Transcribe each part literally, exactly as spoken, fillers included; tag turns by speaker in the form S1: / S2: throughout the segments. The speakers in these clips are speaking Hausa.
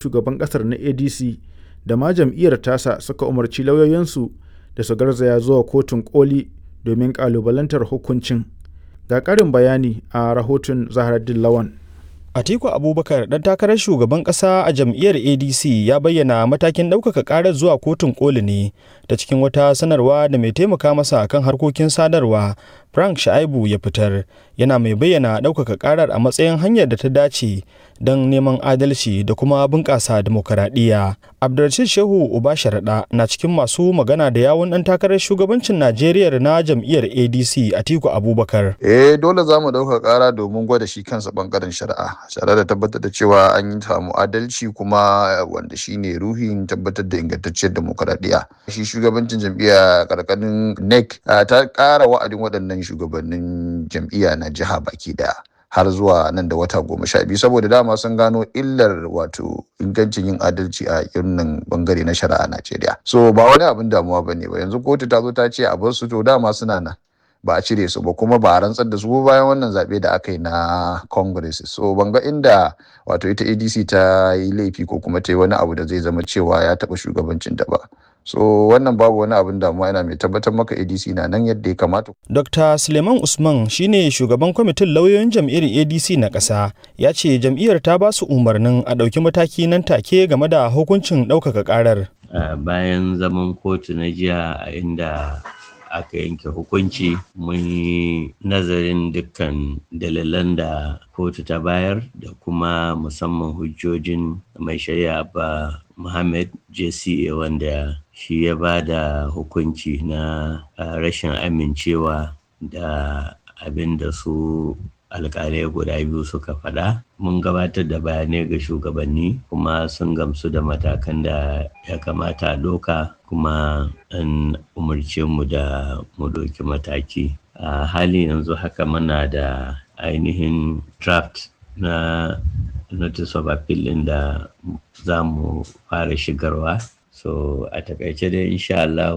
S1: Shugaban ƙasar na A D C da ma jam'iyyar tasa suka umarci lauyoyinsu da su garzaya zuwa Kotun Koli domin ƙalubalantar hukuncin. Ga ƙarin bayani a rahoton Zahraddeen Lawan.
S2: Atiku Abubakar, ɗan takarar shugaban ƙasa a jam'iyyar A D C, ya bayyana matakin ɗaukaka ƙarar zuwa Kotun Koli ne ta cikin wata sanarwa da mai taimaka masa kan harkokin sadarwa Frank Shaibu ya fitar, yana mai bayyana ɗaukaka ƙarar a matsayin hanyar da ta dace don neman adalci da kuma bunƙasa dimokuraɗiyya. Abdulrashid Shehu Uba Sharaɗa na cikin masu magana da yawun ɗan takarar shugabancin Najeriya na jam'iyyar A D C, Atiku Abubakar.
S3: Eh, dole za mu ɗaukaka ƙara domin gwada shi kansa ɓangaren shari'a, tare da tabbatar da cewa an yi samu adalci, kuma wanda shine ruhin tabbatar da ingantacciyar dimokuraɗiyya. Shi shugabancin jam'iyya karkashin N E C ta ƙara wa'adin waɗannan shugabannin jam'iyya na jiha baki daya har zuwa nan da wata goma sha biyu, saboda dama sun gano illar wato ingancin yin adalci a irin bangare na shari'a a Najeriya. So ba wani abin damuwa bane ba. Yanzu kotu ta zo ta ce a bar su, to dama suna nan, ba a cire su ba, kuma ba a rantsar da su bayan wannan zaɓe da aka yi na Congress. So ban ga inda wato ita A D C ta yi laifi ko kuma ta yi wani abu da zai zama cewa ya taɓa shugabancin ta ba. So wannan babu wani abin damuwa, yana mai tabbatar maka A D C na nan yadda ya kamata.
S2: Dokta Suleiman Usman shine shugaban kwamitin lauyoyin jam'iyyar A D C na ƙasa, ya ce jam'iyyar ta ba su umarnin a ɗauki mataki nan take game da hukuncin ɗaukaka ƙarar.
S4: Uh, bayan zaman kotu na jiya a inda aka yanke hukunci, mun yi nazarin dukkan dalilan da kotu ta bayar da kuma musamman hujjojin mai shari'a ba Muhammad J C A, wanda shi ya ba da hukunci na rashin amincewa da abin da su alkalai guda biyu suka faɗa. Mun gabatar da bayanai ga shugabanni, kuma sun gamsu da matakan da ya kamata a ɗauka, kuma an umarce mu da mu ɗauki mataki. A halin yanzu haka muna da ainihin draft na notice of appeal ɗin da za mu fara shigarwa. So a takaice dai, insha Allah,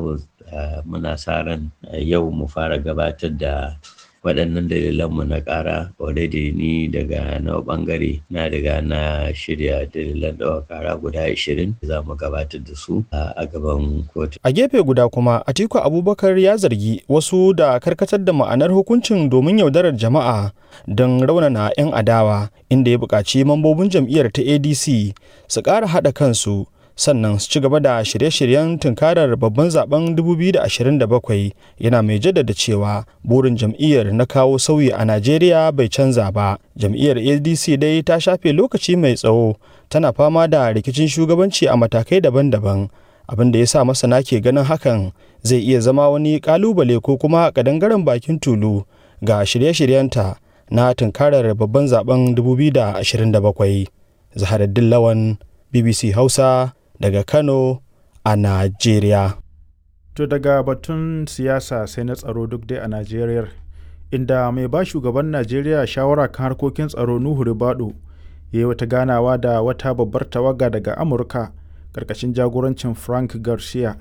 S4: muna sa ran yau mu fara gabatar da waɗannan dalilanmu na ƙara. Already ni daga na ɓangare na riga na shirya dalilan ɗaukar ƙara guda ashirin, za mu gabatar da su a gaban kotu.
S2: A gefe guda kuma, Atiku Abubakar ya zargi wasu da karkatar da ma'anar hukuncin domin yaudarar jama'a don raunana 'yan adawa, inda ya buƙaci mambobin jam'iyyar ta A D C su ƙara haɗa kansu, sannan su ci gaba da shirye-shiryen tunkarar babban zaben dubu biyu da ashirin da bakwai, yana mai jaddada cewa burin jam'iyyar na kawo sauyi a Najeriya bai canza ba. Jam'iyyar A D C dai ta shafe lokaci mai tsawo tana fama da rikicin shugabanci a matakai daban-daban, abin da ya sa masana ke ganin hakan zai iya zama wani kalubale ko kuma kadangaren bakin tulu ga shirye-shiryenta na tunkarar babban zaben dubu biyu da ashirin da bakwai. Zaharaddin Lawan, B B C Hausa, daga Kano a Najeriya.
S1: To daga batun siyasa sai na tsaro, duk dai a Najeriya, inda mai ba shugaban Najeriya shawara kan harkokin tsaro, Nuhu Ribadu, ya yi wata ganawa da wata babbar tawaga daga Amurka karkashin jagorancin Frank Garcia,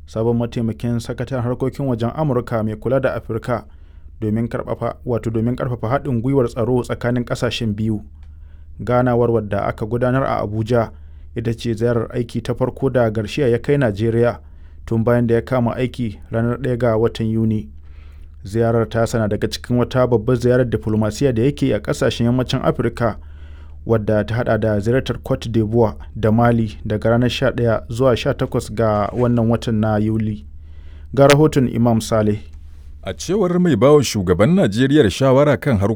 S1: sabon mataimakin sakataren harkokin wajen Amurka mai kula da Afirka, domin karfafa wato domin karfafa haɗin gwiwar tsaro tsakanin ƙasashen biyu. Ganawar, wadda aka gudanar a Abuja, ita ce ziyarar aiki ta farko da Garcia ya kai Najeriya tun bayan da ya kama aiki ranar ɗaya ga watan Yuni. Ziyarar ta sana daga cikin wata babbar ziyarar diflomasiya da yake a kasashen yammacin Afirka, wadda ta hada da ziyartar Cote d'Ivoire da Mali daga ranar sha ɗaya zuwa sha takwas ga wannan watan na Yuli. Ga rahoton Imam Saleh.
S5: A cewar mai bawa shugaban Najeriya shawara kan harkokin